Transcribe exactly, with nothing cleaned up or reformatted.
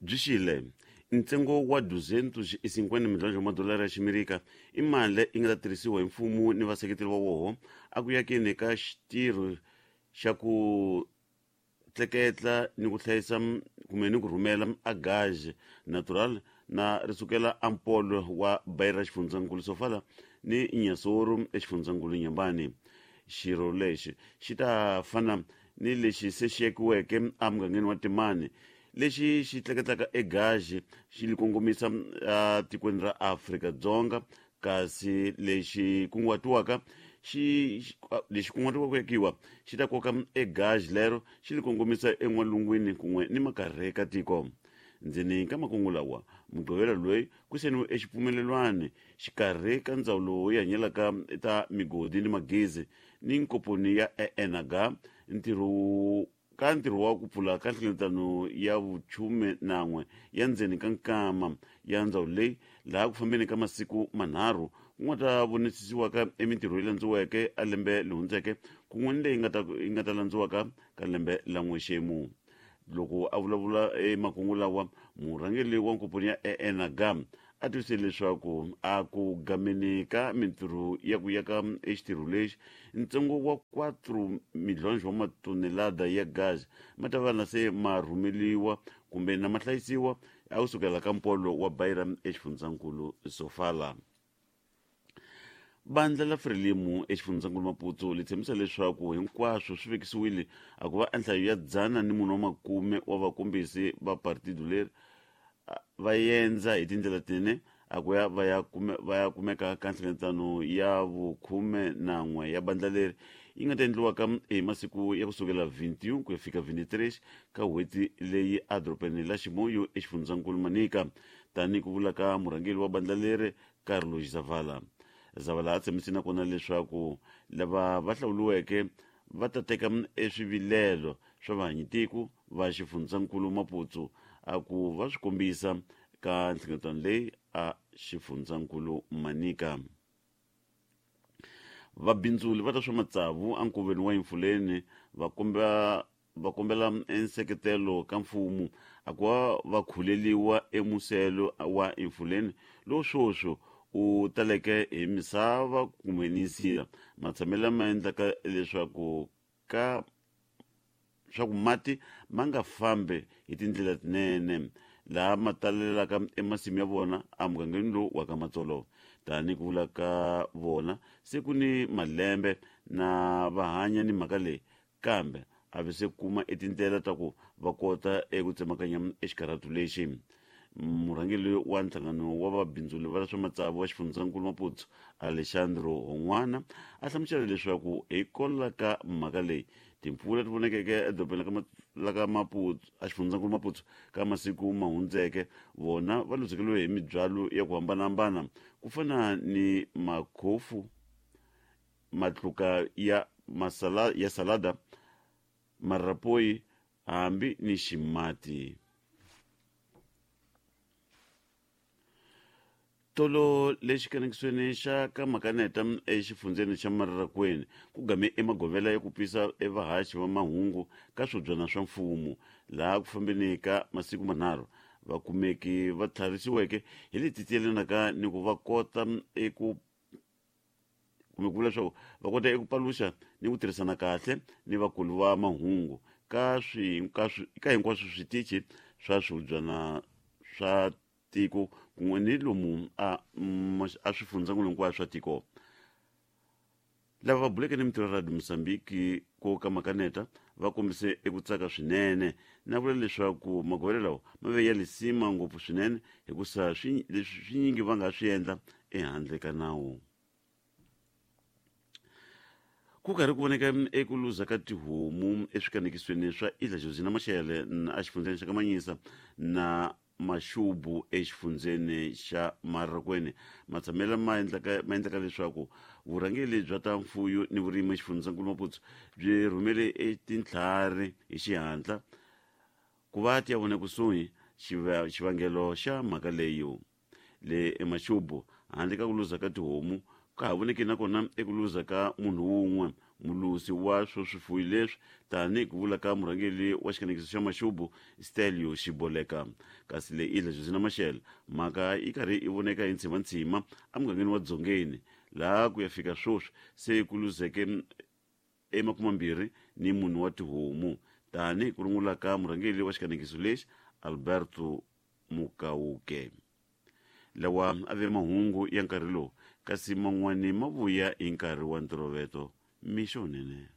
Byi xile ntsengo wa duzentos e cinquenta milhões wa madolara ya ximerika i mali yi nga ta tirhisiwa hi mfumo ni vaseketeri va woho a ku yakeni ka xitirho xa ku tleketla ni ku hlayisa kumbe ni ku rhumela a gaz natural na ri sukela ampolo wa Beira xifundzankulu Sofala ni Inhassoro exifundzankulu Inhambane. Xirho lexi xi ta fana ni lexi se xi yakiweke emugangeni wa Temane lexi xi tleketlaka egazi xi li kongomisa etikweni ra Afrika-Dzonga, kasi lexi kunguhatiwaka xi lexi kunguhatiwaka ku yakiwa xi ta koka egazi lero xi li kongomisa en'walungwini kun'we ni makarhi ka tiko. Ndzeni ka makungu lawa Mugqivela loyi ku sayiniwe exipfumelelwano xikarhi ka ndzawulo yo hanyelaka ta migodi ni magezi ni nkomponi ya E N H ntirho ka ntirho wa ku pfula ka nhlengeletano ya vuchume nan'we ya ndzeni ka nkama ya ndzawulo leyi laha ku fambeni ka masiku manharhu ku nga ta vonisisiwaka emintirho yi landziweke a lembe leri hundzeke kun'we ni leyi nga ta yi nga ta landziwaka ka lembe la n'wexemu. Loko a vulavula emakungu lawa murhangeri wa nkomponi ya E N H a tivise leswaku a ku gameni ka mintirho ya ku yaka exitirho lexi ntsengo wa quatro milhões wa matonelada ya gas ma ta va na se ma rhumeliwa kumbe na ma hlayisiwa a ku sukela ka mpolo wa Beira exifundzankulu Sofala. Bandla la Frelimo exifundzankulu Maputo li tshembisa leswaku hinkwaswo swi vekisiwile a ku va enhlayo ya dzana ni munhu wa makume wa vakombisi va partido leri va yendza hi tindlela tinene a ku ya va ya kume va ya kumeka ka nhlengeletano ya vukhume nan'we ya bandla leri yi nga ta endliwaka hi masiku ya kusukela vinti-e-um ku ya fika vinti-três ka n'hweti leyi edorobeni la Chimoio exifundzankulu Manica, tanihi ku vula ka murhangeri wa bandla leri Carlos Zavala. Zavala a tshembise nakona leswaku lava va hlawuriweke va ta teka eswivilelo swa vahanyitiko va xifundzankulu Maputo a ku va swi kombisa ka nhlengeletano leyi a xifundzankulu Manica. Vabindzuli va ta swa matsavu enkoveni wa Emfuleni va komba va kombela enseketelo ka mfumo a ku va va khuleliwa emuselo wa Emfuleni lowu swoswo u taleke hi misava kumbe ni nsila matshamelo lama endlaka leswaku ka swa ku mati ma nga fambi hi tindlela tinene laha ma talelaka emasimu ya vona emugangeni lowu wa ka Matsolo. Tanihi ku vula ka vona se ku ni malembe na va hanya ni mhaka leyi kambe a va se kuma etindlela ta ku va kota eku tsemakanya exikarhatu lexi. Murhangeri wa nhlangano wa vabindzuli va swa matsavu wa xifundzankulu Maputo Alexandro Hon'wana a hlamusela leswaku hikwalaho ka mhaka leyi timpfula ti vonekeke edorobeni la ka Maputo a xifundzankulu Maputo ka masiku ma hundzeke vona va luzekeriwe hi mibyalo ya ku hambanahambana ku fana ni makhofu matluka ya masala ya salada marapoyi hambi ni ximati. Tolo lexi kanekisweni xa ka Makaneta exifundzeni xa Mararakwini ku game emagovela ya ku pisa evahaxi va mahungu ka swibyana swa mfumo laha ku fambeni ka masiku manharhu vakumeki va tlharisiweke hi leti tiyelanaka ni ku va kota eku kumbe ku vula leswaku va kota eku paluxa ni ku tirhisana kahle ni vakulu va mahungu ka swi ka swi ka hinkwaswo switichi swa swibyana swa tiko kun'we ni lomu a a swifundzankulu hinkwaswo swa tiko. Lava va buleke ni mintirho ya Radio Mozambique ko ka Makaneta va kombise eku tsaka swinene na vula leswaku magovelo lawa ma ve ya lisima ngopfu swinene hikusa swi leswi swinyingi va nga swi endla ehandle ka nawu. Ku karhi ku voneka eku luza ka tihomu eswikanekisweni swa Ilha Josina Machel exifundzeni xa Kamanyisa na Maxubu exifundzeni xa Mararakwini matshamelo ma endlaka ma endlaka leswaku vurhangeri bya ta mfuyo ni vurimi exifundzankulu Maputo byi rhumele etintlhari hi xihatla ku va ti ya vona kusuhi xivangelo xa mhaka leyi. Le eMaxubu handle ka ku luza ka tihomu ka ha voneki nakona eku luza ka munhu wun'we Mulusi wa swo swifuyi leswi tanihi ku vula ka murhangeri wa xikanekiso xa Maxubu Stelio Xiboleka. Kasi le Ilha Josina Machel mhaka yi karhi yi voneka hi ntshimantshima emugangeni wa Dzongeni, laha ku ya fika sweswi se ku luzeke emakumambirhi ni mune wa tihomu, tanihi ku rungula ka murhangeri wa xikanekiso lexi Alberto Mukauke. Lawa a ve mahungu ya nkarhi lowu, kasi man'wani ma vuya hi nkarhi wa ntolovelo. Mixo nene.